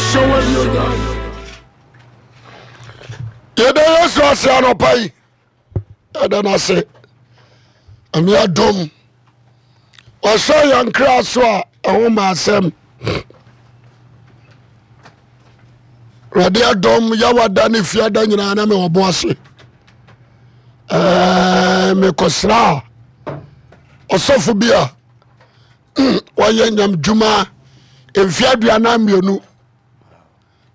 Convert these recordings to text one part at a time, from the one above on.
Hyɛ w'anuonyam. Yɛda Yesu ase anɔpa yi. Yɛda no ase. Ame adom. Ɔhyɛ yɛn kra so a ɛho ma asɛm. Awurade adom yɛwada ne fiada nyinaa na mewɔ bo ase. Ɛɛ mekɔsra ɔsɔfo bi a wɔyɛ nyamdwuma mfe 42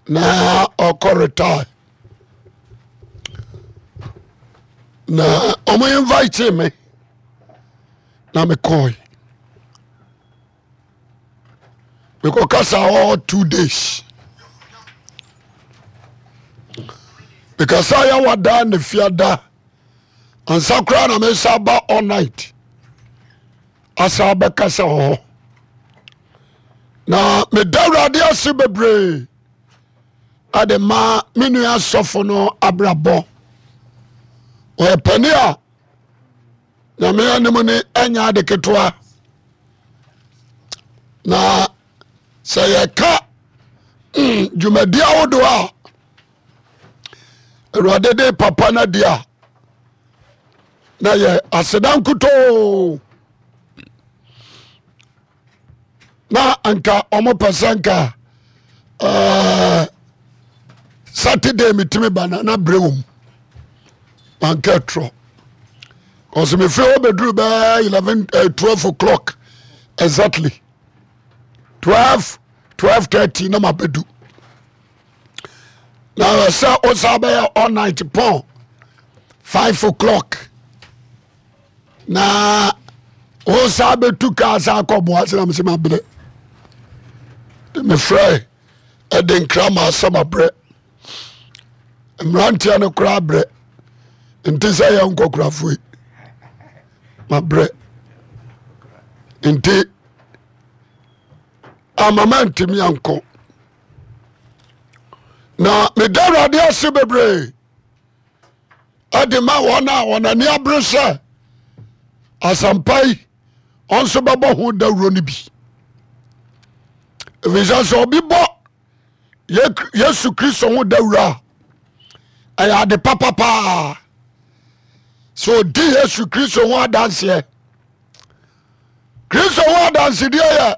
na ɔkɔ retire na ɔmo invite me na mekɔe mekɔkasa hɔ 2 days. Mekasa yɛwada ne fiada ansa koraa na mesa ba all night asa bɛkasa wɔ hɔ na meda Awurade ase bebree ɛde ma me nua sɔfo no abrabɔ. Ɔyɛ pani a Nyame anim ne ɛnyɛ ade ketewa na sɛ yɛka dwumadi ahodoɔ a Awurade de papa no adi a na yɛ aseda nkutoo na nka ɔmo pɛ sɛ nka Saturday metumi ba na berɛ wɔ mu manka ɛtorɔ kɔsɛ mefiri hɔ bɛduru bɛɛ 11 12 o'clock exactly 12 12:30 na mabɛdu na sɛ wosa bɛyɛ all night pɔn 5 o'clock na wosa bɛtu kaa sa akɔ boa sɛ na mesɛ mabrɛ mefrɛ ɛde nkra ma asɛ mabrɛ mmeranteɛ no koraa brɛ nti sɛ yɛ nkɔkorafoɔ mabrɛ nti amama ntumi ankɔ na meda Awurade ase bebree ɛde ma wɔn a wɔn ani abere sɛ asɛmpa yi ɔnso bɛbɔ ho dawuro no bi, ɛfiri sɛ obi bɔ Yesu Kristo ho dawuro a ɛyɛ ade papa paa sɛ ɔdi Yesu Kristo ho adanseɛ. Kristo ho adansedeɛ yɛ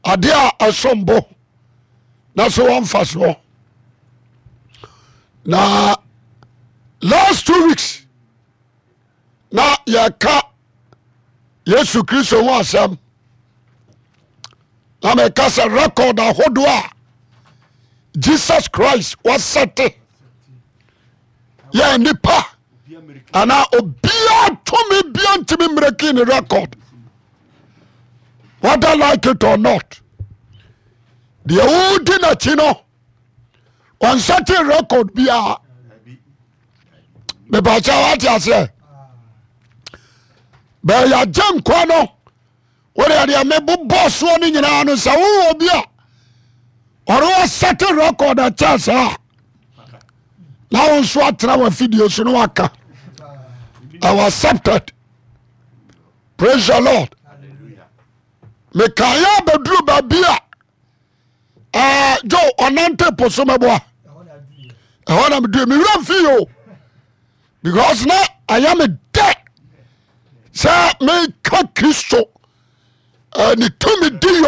adeɛ a ɛsom bo na so wɔmfa soɔ. Na last 2 weeks na yɛka Yesu Kristo ho asɛm na meka sɛ record ahodoɔ a Jesus Christ wasɛte yɛ nipa anaa obiara tumi bia ntumi mmerɛki ne record, whether like it or not. Deɛ wodi n'akyi no ɔnsɛte record biara. Mepakyɛ wate aseɛ? Bɛyɛ agye nkwa no wode deɛ mebobɔ soɔ no nyinaa no sɛ wowɔ bi a ɔne wɔsɛte record akyɛ saa na wo nso atena w'afidie so no waka I accepted. Praise the Lord. Mekaeɛ abɛduru baabi a jo ɔnante po so mɛboa ɛhɔ na medue mewura mfi o because na ɛyɛ me dɛ sɛ meka Kristo ne tumi di yɔ.